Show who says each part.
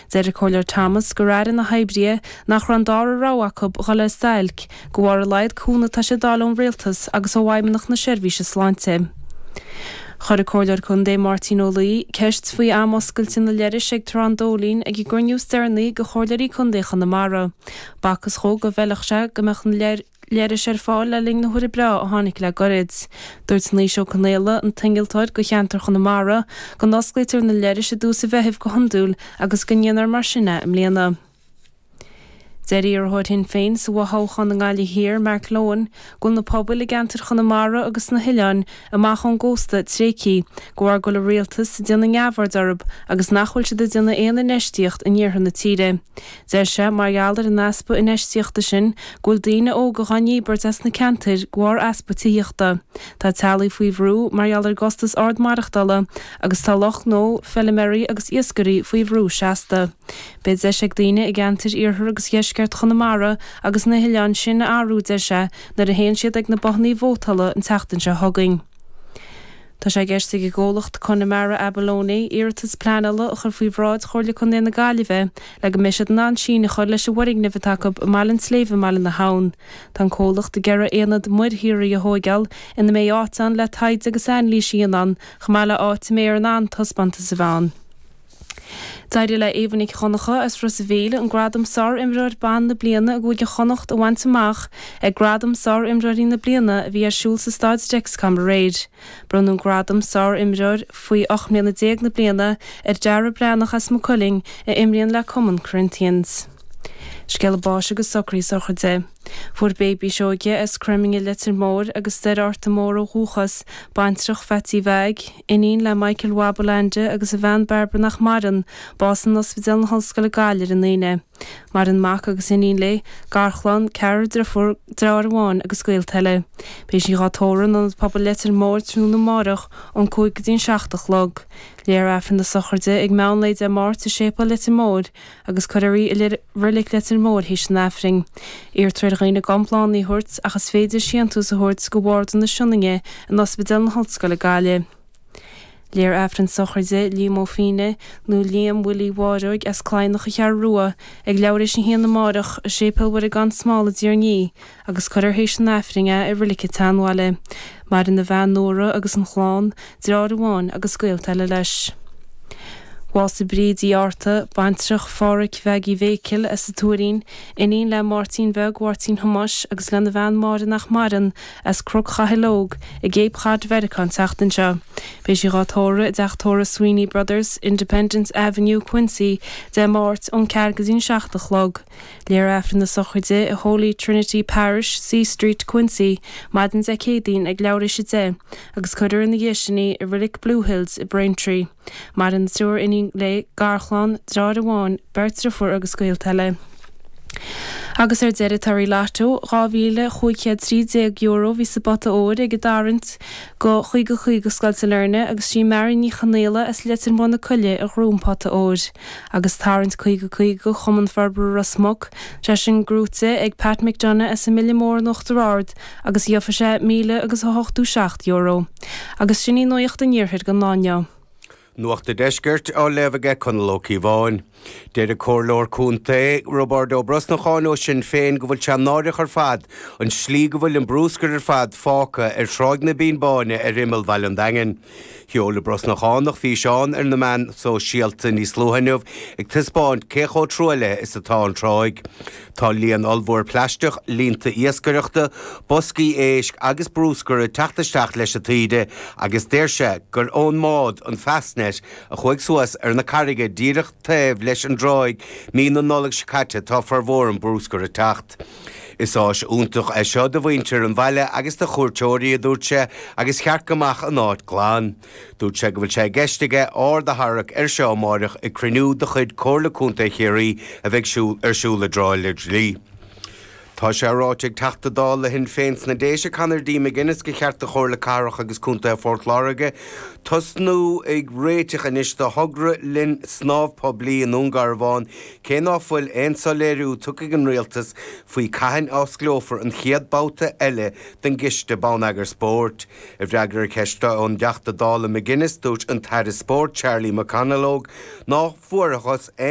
Speaker 1: Deir an Comhairleoir Thomas gur airigh na hoibrithe nach raibh an dara rogha acu dhul ar stailc de bharr a laghad cúnamh atá siad d'fháil ón Rialtas agus ó Fheidhmeannacht na Seirbhíse Sláinte. Chuir an Comhairleoir Contae Máirtín Ó Laoi ceist faoi am oscailte na leithris ag Trá an Dóilín ag an gcruinniú is deireanaí de Chomhairleoirí Contae Chonamara. B'fhacthas dhó go bhfeilfeadh sé go mbeadh na leithris ar fáil le linn na huaire breá a tháinig le goirid. Dúirt Naoise Ó Conaola, an t-innealtóir do cheantar Chonamara, go n-osclaítear na leithris i dtús an Mheithimh go hiondúil agus go ndéanfar mar sin é i mbliana. Deir iarrthóir Shinn Féin sa bhfothoghchán i nGaillimh Thiar, Mark Lohan, go bhfuil na pobail i gceantar Chonamara agus sna hoileáin amach ón gcósta tréigthe de bharr go bhfuil an rialtas ag déanamh neamhaird orthu agus nach bhfuil siad ag déanamh aon infheistíocht in iarthar na tíre. Deir sé, mar gheall ar an easpa infheistíochta sin, go bhfuil daoine óga dhá ndíbirt as na ceantair de bharr easpa tithíochta. Tá teaghlaigh faoi bhrú mar gheall ar an gcostas ard maireachtála agus tá lucht gnó, feiliméaraí agus iascairí faoi bhrú seasta. Beidh deis ag daoine i gceantair iarthar agus dheisceart Chonamara agus na hoileáin sin a athrú, deir sé, nuair a théann siad ag na bothannaí vótála an tseachtain seo chugainn. Tá sé i gceist ag an gcomhlacht Connemara Abalone iarratas pleanála a chur faoi bhráid Chomhairle Contae na Gaillimhe le go mbeidh siad in ann síneadh a chur leis an bhfoirgneamh atá acu i mBaile an tSléibhe i mBaile na hAbhann. Tá an comhlacht ag iarraidh aonad muirshaothraithe a thóigeáil ina mbeidh áit ann le taighde agus anailís a dhéanamh ann chomh maith le áit a mbeifear in ann taispeántas a bheith ann. D'éirigh le Éabha Nic Dhonncha as Ros a' Mhíl an gradam Sár-Imreoir Ban na Bliana i gCúige Chonnacht a bhaint amach ag Gradaim Sár-Imreoirí na Bliana a bhí ar siúl sa Staid Dexcom aréir. Bronnadh an gradam Sár-Imreoir faoi 18 mbliana na bliana ar Dara Breathnach as Maigh Cuilinn a imríonn le cumann Corinthians. Scéala báis agus socruithe sochraide. Fuair Baby Seoige as Croiminghe Leitir Móir agus Doire Fhorta Mór ó dhúchas, baintreach Pheaitsí Mheaig, iníon le Michael Mhab Leainde agus a bhean Bairbre nach maireann, bás in Ospidéal na hOllscoile Gaillimh ar an Aoine. Maireann mac agus iníon léi, garchlann, ceathrar driofúr, deartháir amháin agus gaolta eile. Beidh sí dhá tórramh in Ionad Pobail Leitir Móir tráthnóna amárach ón 5 go dtí an 7 a chlog. Léifear Aifreann na sochraide ag meán lae Dé Máirt i Séipéal Leitir Móir agus cuirfear í i Reilig Leitir Móir théis an Aifrinn. Iarrtar ar dhaoine gan bláthanna a thabhairt ach is féidir síntús a thabhairt go Bharda na Sionainne in Ospidéal na hOllscoile Gaillimh. Léifear Aifreann sochraide Liam Ó Fíne nó Liam Willie Mháireoig as Cladhnach an Cheathrú Rua ag leathuair théis a haon amárach i Séipéal Mhuire gan Smál i dTír an Fhia agus cuirfear théis an Aifrinn é i Reilig an tSeanbhaile. Maireann a bhean Nóra agus an chlann, deartháir amháin agus gaolta eile leis. Bhásaigh Bríd Uí Fhátharta, baintreach Phádhraic Mheaigí Mhéicil as an Tuairín, iníon le Máirtín Bheag Mháirtín Thomáis agus lena bhean Máire nach maireann, as Cnoc Chathail Óg i gCape Cod Mheiriceá an tseachtain seo. Beidh sí dhá tórramh i dteach tórraimh Sweeney Brothers, Independence Avenue, Quincy, Dé Máirt ón 4 go dtí an 7 a chlog. Léifear Aifreann na sochraide i Holy Trinity Parish, C Street, Quincy, maidin Dé Céadaoin ag leathuair théis 10, agus cuirfear ina dhiaidh sin í i Reilig Blue Hills i Braintree. Maireann triúr iníon léi, garchlann, deartháir amháin, beirt driofúr agus gaolta eile. Agus ar deireadh torthaí Lotto, €2,513 a bhí sa bpota óir ag an dtarraingt go 50 50 Scoil Sailearna agus sí Marion Ní Chonaola as Leitir Móir na Coille a ghnóthaigh an pota óir. Agus tarraingt 50 50 do Chumann Forbartha Ros Muc, sé sin gnóthaithe ag Pat McDonagh as an mBile Mór in Uachtar Ard agus gheofaidh sé míle agus a 87 euro. Agus sin í Nuacht an Iarthair don lá inniu.
Speaker 2: Nuacht an Deiscirt á léamh aige Conall Ó Cíobháin. Deir an Comhairleoir Contae, Roibeárd Ó Brosnacháin ó Sinn Féin go bhfuil sé náireach ar fad an slí go bhfuil an brúscar ar fad fágtha ar Thráigh na Bínne Báine ar imeall Bhaile an Daingin. Sheol an Brosnachánach físeán ar na meáin sóisialta níos luaithe inniu ag taispeáint cé chomh truaillithe is atá an tráigh. Tá líon ollmhór plaisteach, líonta iascaireachta, boscaí éisc agus brúscar ag teacht isteach leis an taoide agus deir sé gur ón mbád, an Fastnet, a chuaigh suas ar na carraige díreach taobh leis an dtráigh mí na Nollag seo caite tá formhór an brúscar ag teacht. Is áis iontach é seo do mhuintir an bhaile agus do chuairteoirí, a dúirt sé, agus cheart go mbeadh an áit glan. Dúirt sé go bhfuil sé i gceist aige aird a tharrac air seo amáireach ag cruinniú de chuid Comhairle Contae Chiarraí a bheidh ar siúl i dTrá Lí. Tá sé ráite ag Teachta Dála le Shinn Féin sna Déise, Conor D. McGuinness, gur cheart do Chomhairle Cathrach agus Contae Phort Láirge tosnú ag réiteach anois do thogra linn snámh poiblí i nDún Garbhán Cé ná fuil aon soiléiriú tugtha ag an Rialtas faoi cathain a osclófar an chéad babhta eile den gCiste Bonneagair Spóirt, i bhfreagra ar cheist ón dTeachta Dála McGuinness, dúirt an tAire Spóirt Charlie McConalogue ná fuarthas aon.